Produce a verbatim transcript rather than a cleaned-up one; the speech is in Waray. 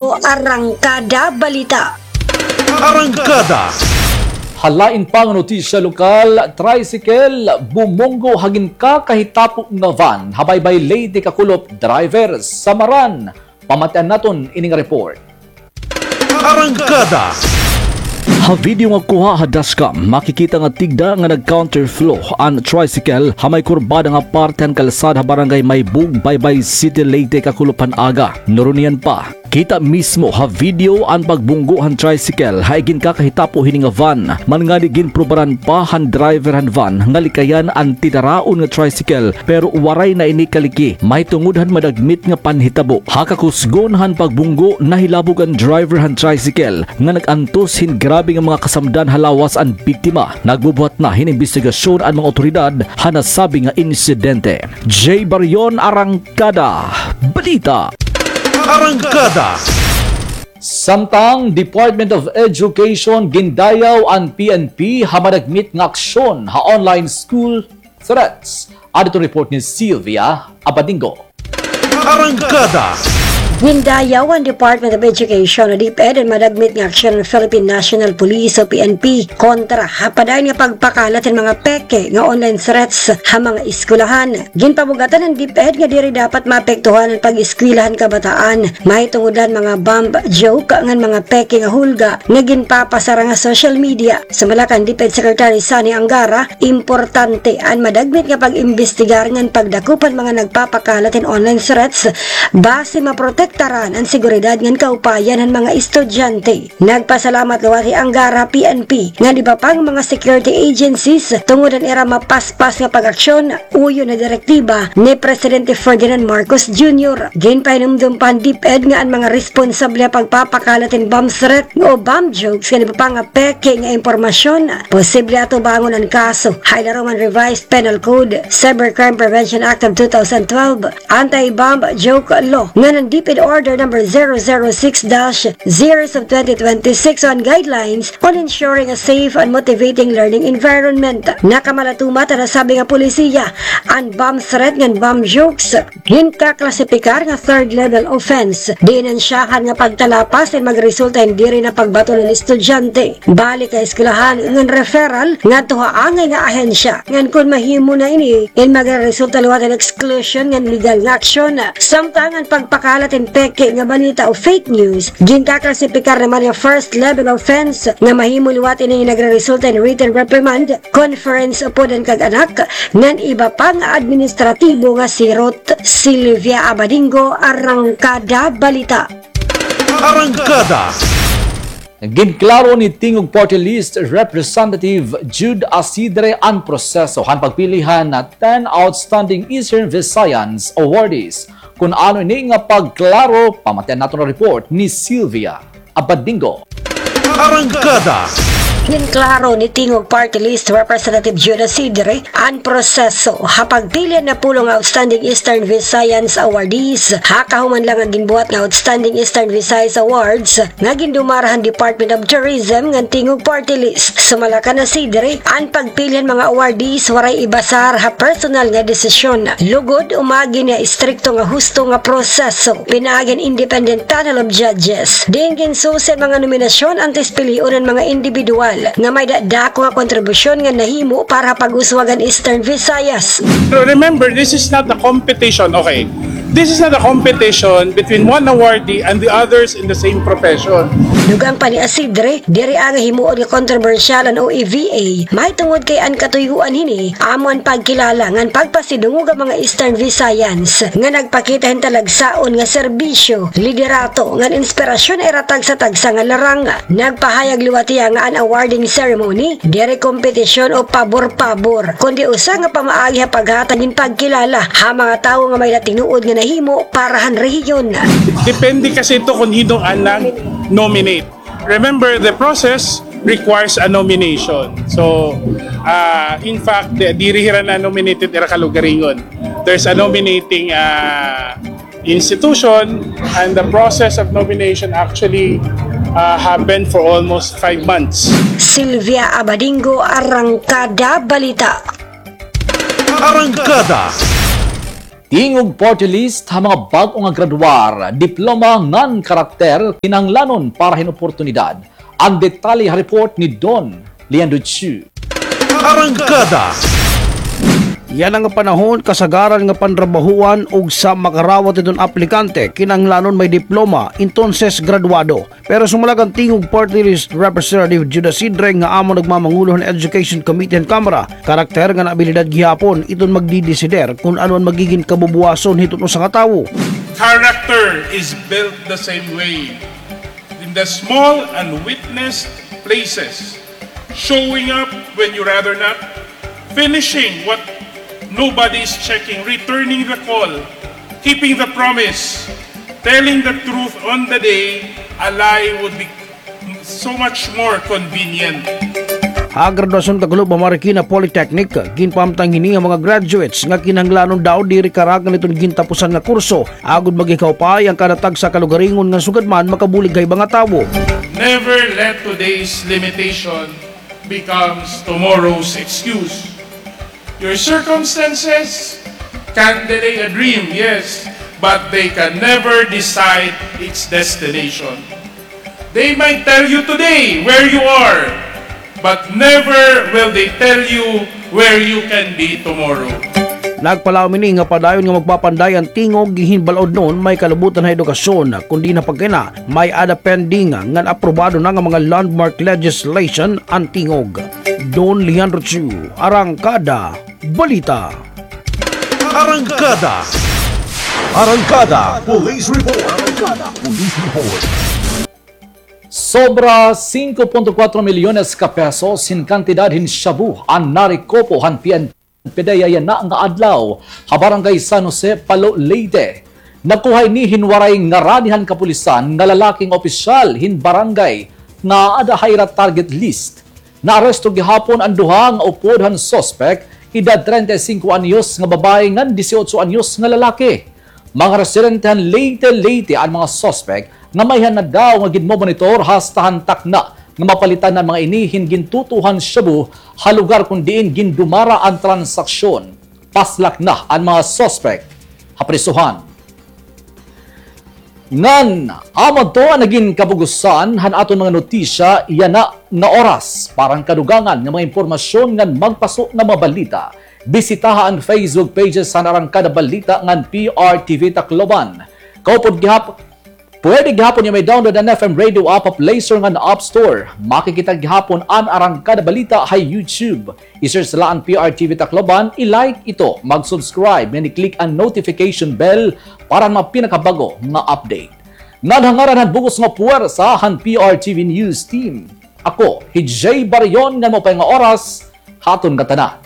Arangkada Balita. Arangkada. Ha lain pa nga notisya lokal, tricycle bumunggo ha ginkakahitapo nga van ha Baybay Leyte kakulop driver. Samaran, pamatian naton ini nga report. Arangkada. Ha video nga kuha ha dashcam, makikita nga tigda nga nag-counterflow an tricycle ha may kurbada nga parte han kalsada ha Barangay Maybug, Baybay City, Leyte, kakulop han aga. Nurunian pa, kita mismo ha video an pagbunggo han tricycle ha iginkakahitapo hini nga van. Man ngani ginprobaran pa han driver han van nga likayan an tidaraon nga tricycle, pero waray na ini kaliki mahitungod han madagmit nga panhitabo. Ha kakusgon han pagbunggo, nahilabog an driver han tricycle nga nag-antos hin grabe nga mga kasamdan ha lawas an biktima. Nagbubuhat na hin imbestigasyon an mga awtoridad ha nasabi nga insidente. Jay Barion, Arangkada Balita. Arangkada. Samtang Department of Education, gindayaw an P N P ha madagmit nga aksyon ha online school threats. Adto report ni Sylvia Abadingo. Arangkada. Gindayaw han Department of Education o DepEd an madagmit nga aksyon han Philippine National Police o P N P kontra ha padayon nga pagpakalat hin mga peke nga online threats ha mga eskwelahan. Ginpabug-atan han DepEd nga diri dapat maapektuhan an pag-eskwela han kabataan mahitungod han mga bomb joke ngan mga peke nga hulga nga ginpapasara ha social media. Sumala kan DepEd Secretary Sonny Angara, importante an madagmit nga pag-imbestigar ngan pagdakop han mga nagpapakalat hin online threats basi maprotektaran an seguridad ngan kaupayan han mga estudyante. Nagpasalamat liwat hi Angara ha P N P ngan iba pang mga security agencies tungod han ira mapaspas nga pag-aksyon, uyon ha direktiba ni Presidente Ferdinand Marcos Junior. Ginpahinumdom pa han DepEd nga an mga responsable ha pagpapakalat hin bomb threat o bomb jokes ngan iba pa nga peke nga impormasyon, posible atubangon an kaso ha ilarom han Revised Penal Code, Cybercrime Prevention Act of two thousand twelve, Anti-Bomb Joke Law, ngan an DepEd Order Number zero zero six dash zero of twenty twenty-six on Guidelines on Ensuring a Safe and Motivating Learning Environment. Nakamalatumat an nasabi nga polisiya an bomb threat ngan bomb jokes, ginkaklasifikar nga third level offense. Diin an syahan nga pagtalapas in magresulta hin diri na pagbaton an estudyante balik ha eskwelahan ngan referral ngadto ha angay nga ahensya. Ngan kon mahimo na ini, in magreresulta liwat hin exclusion ngan legal nga aksyon. Samtang an pagpakalat hin peke nga balita o fake news, ginkaklasifikar naman nga first level offense nga mahimo liwat ini nagreresulta hin written reprimand, conference upod an kag-anak, ngan iba pa nga administratibo nga sirot. Sylvia Abadingo, Arangkada Balita. Arangkada. Ginklaro ni Tingog Party List Representative Jude Asidre an proseso han pagpili han ten outstanding Eastern Visayans awardees. Kon ano ini nga pagklaro, pamatian naton an report ni Sylvia Abadingo. Arangkada. Ginklaro ni Tingog Party List Representative Jude Asidre an proseso ha pagpili han napulo nga outstanding Eastern Visayans awardees ha kahuman la nga ginbuhat nga Outstanding Eastern Visayas Awards nga gindumara han Department of Tourism ngan Tingog Party List. Sumala kan Asidre, an pagpili han mga awardees waray ibasar ha personal nga desisyon. Lugod, umagi ini ha istrikto nga husto nga proseso pinaagi han independent panel of judges. Diin ginsusi an mga nominasyon antes pilion an mga indibidwal nga may dadako nga kontribusyon nga nahimo para ha pag-uswag han Eastern Visayas. Pero remember, this is not a competition, okay? This is not a competition between one awardee and the others in the same profession. Dugang pa ni Asidre, diri anga himuon nga kontrobersyal an O E V A, mahitungod kay an katuyoan hini amo an pagkilala ngan pagpasidungog han mga Eastern Visayans nga nagpakita hin talagsaon nga serbisyo, liderato, ngan inspirasyon ha ira tagsa-tagsa nga larangan. Nagpahayag liwat hiya nga an awarding ceremony diri kompetisyon o pabor-pabor, kundi usa nga pamaagi ha paghatag hin pagkilala ha mga tawo nga may-ada tinuod nga nahimo para han rehiyon. Depende kasi ito kung hin-o an nag-nominate. Remember, the process requires a nomination. So, ah, in fact, di-, diri hira na-nominated ira kalugaringon. There's a nominating, ah, institution, and the process of nomination actually, uh, happened for almost five months. Sylvia Abadingo, Arangkada Balita. Arangkada. Tingog Party List ha mga bag-o nga graduar, diploma ngan karakter kinahanglanon para hin oportunidad. An detalye ha report ni Don Leandro Chu. Arangkada. Yana nga panahon, kasagaran nga panrabahoan ug sa makarawat hiton aplikante, kinahanglanon may diploma, entonces graduado. Pero sumalag an Tingog Party List Representative Judas Sidre nga amo nagmamangulo han Education Committee han Kamara, karakter ngan abilidad gihapon iton magdidesider kon ano an magigin kabubuwason hiton usa nga tawo. Character is built the same way. In the small unwitnessed places, showing up when you rather not, finishing what nobody is checking, returning the call, keeping the promise, telling the truth on the day, a lie would be so much more convenient. Ha graduasyon kakulob ha Marikina Polytechnic, ginpahamtang hini ha mga graduates nga kinahanglanon daw diri karagan iton gintapusan nga kurso agod magikaupay an kada tagsa ka lugaringon ngan sugad man makabulig ha iba nga tawo. Never let today's limitation becomes tomorrow's excuse. Your circumstances can delay a dream, yes, but they can never decide its destination. They might tell you today where you are, but never will they tell you where you can be tomorrow. Nagpalaom ini nga padayon nga magpapanday an Tingog hin balaod-on may kalubutan ha edukasyon, kundi na pagkaina may-ada pending ngan aprobado na nga mga landmark legislation an Tingog. Don Leandro Chu, Arangkada Balita. Arangkada. Arangkada Police Report. Arangkada Police Report. Sobra singko punto kwatro milyones ka pesos hin kantidad hin shabu an narekupo han P N P PDEA yana nga adlaw ha Barangay San Jose, Palo, Leyte. Nakuha ini hin waray ngarani han kapulisan nga lalaki nga opisyal hin barangay nga aada ha ira target list. Naaresto gihapon an duha nga upod han suspek, edad treinta y cinco anyos nga babaye ngan dieciocho anyos nga lalaki. Mga residente han Leyte, Leyte an mga suspek nga maiha na daw nga ginmomonitor hasta han takna nga mapalitan an mga ini hin gintutuohan shabu ha lugar kon diin gindumara an transaksyon. Paslak na an mga suspek ha prisohan. Ngan amo adto an nagin kabugusan han aton mga notisya yana nga oras. Para han kadugangan nga mga impormasyon ngan magpaso nga mga balita, bisitaha an Facebook pages han Arangkada Balita ngan P R T V Tacloban. Kaupod gihap-, pwede gihapon nga ma-download an F M Radio app ha Play Store ngan App Store. Makikita gihapon an Arangkada Balita ha YouTube. I-search la an P R T V Tacloban, i-like ito, mag-subscribe, ngan i-click an notification bell para han mga pinakabag-o nga update. Ngan ha ngaran han bug-os nga puwersa han P R T V News Team, ako hi Jay Barion, ngan maupay nga oras ha aton ngatanan.